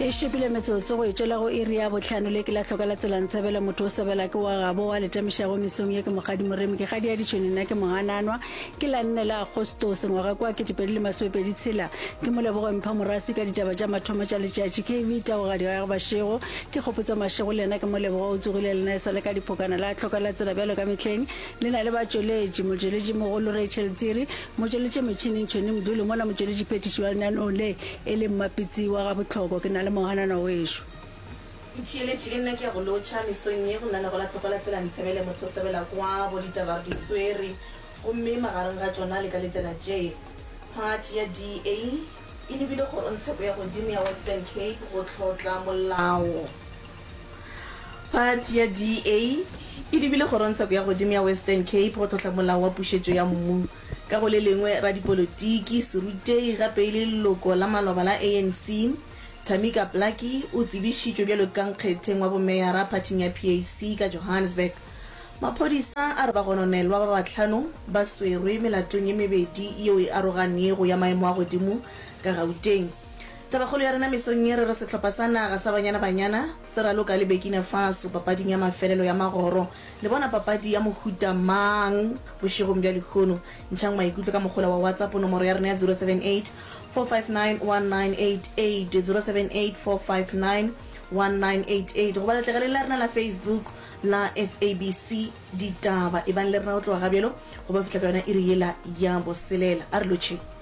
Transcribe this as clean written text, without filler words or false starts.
E šupile metsotso go e tšwela go iri ya bohlano le ke la hloka la tsela ntshebele motho o sebela ke wa gabo wa letamišago mesong ye ke mokgadi moremi ke kgadi ya ditšhone nna ke mogananwa ke la nne la Agostose ngwaga kwa 2026 tshela ke molebogo mpha moraswi ka ditaba tša mathomo tša letšatši KV Taogadi ga Bašego ke kgopotso Mašego le yena ke molebogo o tsogile lena e sale ka diphokana la hloka la tsela bjalo ka mehleng le na le batšweletši motšweletši mogolo Rachel Tsiri motšweletši metšhineng Tšhoni Mduli mola motšweletši phethiši wa lenaneong le e le Mmapitsi wa Gabohloko ke na le moganana wešo. Ntšhiyeletše le nna ke ya go lotšha mesong ye go lenanego la Tlhoko la Tsela Ntshebele motho o sebela kwa bo ditaba re di swere gomme magareng ga tšona le ka letela tše Phathi ya DA e lebile kgorongtsheko ya godimo ya Western Cape go hlotla molao Phathi ya DA e lebile kgorongtsheko ya godimo ya Western Cape go tlotla molao wa pušetšo ya mmu. Ka go le lengwe, radipolotiki, serutegi gape e le leloko la maloba la ANC, Tamika Plaatjie o tsebišitšwe bjalo ka nkgetheng wa bomeyara phathing ya PAC ka Johannesburg. Maphodisa a re bagononelwa ba bahlano ba swerwe melatong ye mebedi yeo e aroganego ya maemo a godimo ka Gauteng. Tabakgolo ya rena mesong ye re re sehlopha sa naga sa Banyana Banyana se raloka le Burkina Faso papading ya mafelelo ya magoro. Le bona papadi ya mohuta mang bošegong bja lehono? Ntšhang maikutlo ka mogola wa WhatsApp nomoro ya rena ya 078 459 1988, 078 459 1988, goba letlakaleng la rena la Facebook la SABC Ditaba. Ebang le rena go tloga ga bjalo go ba fihla ka yona iri yela ya boselela. A re lotšheng.